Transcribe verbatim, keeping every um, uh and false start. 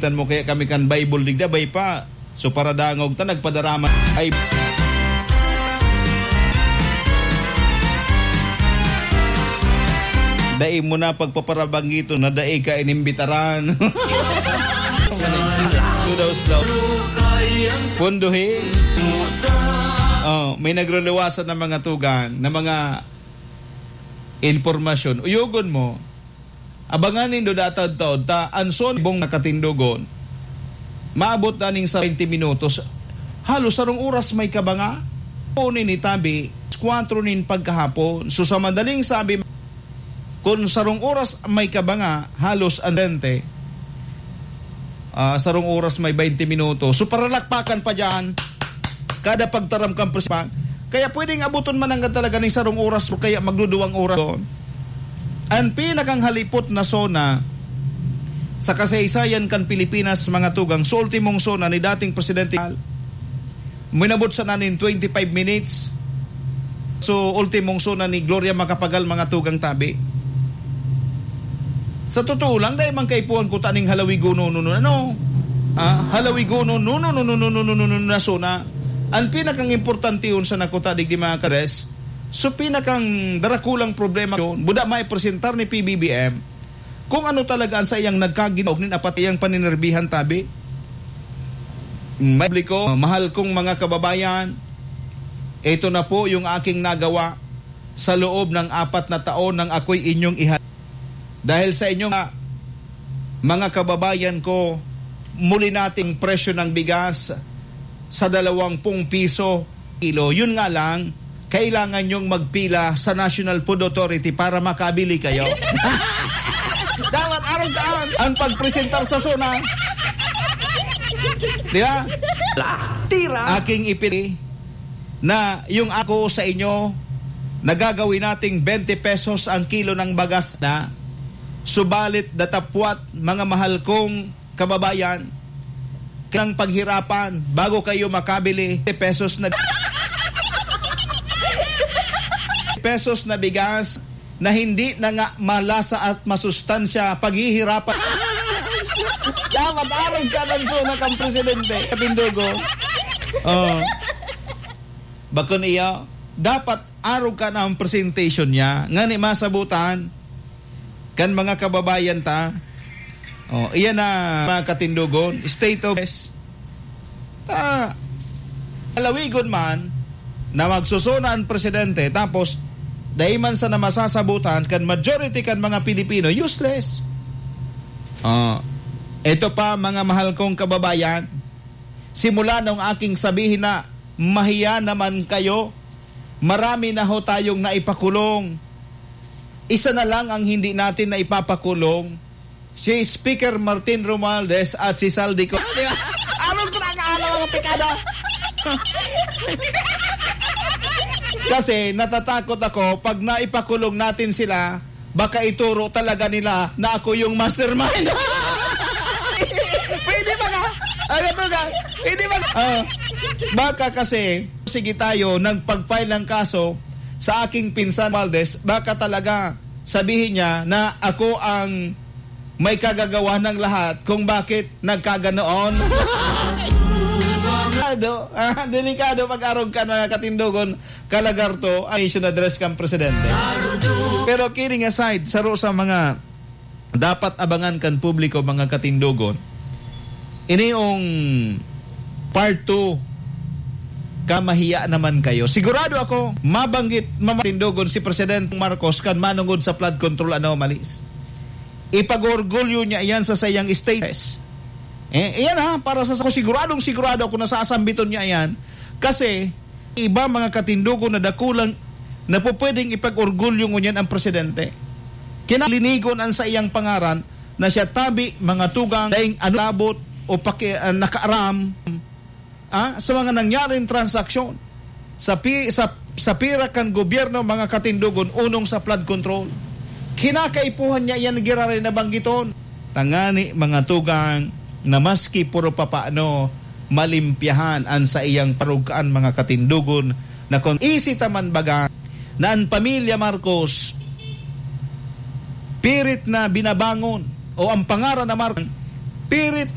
Tan mo kaya kami kan Bible digdi, bay pa. So, paradangog ta, nagpadarama. Ay, dai mo na pagpaparabanggiton na dai ka inimbitaran. Slow daw, slow. Punduhi. Oh, may nagruluwasan na mga tugang, na mga impormasyon. Uyogon mo. Abangan nindo dataw-taw ta an son bong nakatindogon. Maabot na ning sa twenty minutos. Halos sarong oras may kabanga. Uni ni tabi, kwatro nin pagkahapon. So, sa madaling sabi, kun sarong oras may kabanga, halos andente, ah, sarong oras may twenty minutos. So, paralakpakan pa diyan. Kada pagtaram kan presidensial. Kaya pwedeng abuton man nanggad talaga ning sarong oras o kaya magduduwang oras doon. An pinakang halipot na SONA sa kasaysayan kan Pilipinas, mga tugang, sa ultimong SONA ni dating Presidente, minabot sana nin twenty-five minutes. So, ultimong SONA ni Gloria Macapagal, mga tugang tabi. Sa totoo lang, dai man kaipuhan ko taning halawigonon, no, no, ano? Ah, halawigonon, no, no, no, no, no, no, no, no, no, na SONA. Ang pinakang importante yun sa nakuta, digdi, mga kares. So, pinakang darakulang problema yun, buda maipresentar ni P B B M kung ano talaga ang sa iyang nagkaginaog nin apat iyang paninerbihan, tabi. May publiko, mahal kong mga kababayan, ito na po yung aking nagawa sa loob ng apat na taon ng ako'y inyong iha-, dahil sa inyo nga, mga kababayan ko, muli nating presyo ng bigas sa dalawang pung piso kilo. Yun nga lang, kailangan yung magpila sa National Food Authority para makabili kayo. Dapat arog kaan ang pagpresentar sa SONA. Di ba? Tira! Aking ipili na yung ako sa inyo, nagagawin nating twenty pesos ang kilo ng bagas na. Subalit, datapwat, mga mahal kong kababayan, kailangan paghirapan bago kayo makabili twenty pesos na, pesos na bigas na hindi na nga malasa at masustansya, paghihirapan. Dapat arog ka ng SONA kang presidente, katindogo. Oh. Bakun iyo, dapat arog ka na ang presentation niya. Ngani masabutan kan mga kababayan ta. Oh, iyan na, mga katindogon, state of ta, halawigon man na magsusuna an presidente, tapos dai man sana masasabutan kan majority kan mga Pilipino, useless. Oh, ito pa, mga mahal kong kababayan, simula nung aking sabihin na mahiya naman kayo, marami na ho tayong naipakulong. Isa na lang ang hindi natin naipapakulong, si Speaker Martin Romualdez at si Zaldy Co. Di ba? Arog ko na ang mga tikada. Kasi natatakot ako, pag naipakulong natin sila, baka ituro talaga nila na ako yung mastermind. Pwede ba ka? Ano to ka? Pwede ba? Ah, baka kasi, sige tayo, nagpag-file ng kaso sa aking pinsan, Valdez, baka talaga sabihin niya na ako ang may kagagawa ng lahat kung bakit nagkaganoon. Delikado, ah, delikado pag arog ka na katindogon, kalagarto, ang issue na address kang presidente. Pero kidding aside, saro sa mga dapat abangan kan publiko, mga katindogon, ini yung part two, kamahiya naman kayo. Sigurado ako, mabanggit, mga katindogon, si Presidente Marcos kan manungod sa flood control anomalies. Ipag-orgulyo niya iyan sa sayang status. Eh, iyan ha, para sa, sa siguradong sigurado ako na sasambiton niya iyan. Kasi, iba mga katindogon na dakulang na pupwedeng ipag-orgulyo ngunyan ang presidente. Kinalinigon ang sa iyang pangaran na siya tabi, mga tugang, daing ano labot o paki-, ah, nakaaram, ah, sa mga nangyaring transaksyon sa pi-, sa, sa pira kan gobyerno, mga katindogon, unong sa flood control. Kinakaipuhan niya iyan giraray na banggiton. Tangani, mga tugang, na maski puro papaano, malimpyahan an saiyang parugkaan, mga katindogon, na kun isi ta man baga na an pamilya Marcos pirit na binabangon o ang pangaran na Marcos pirit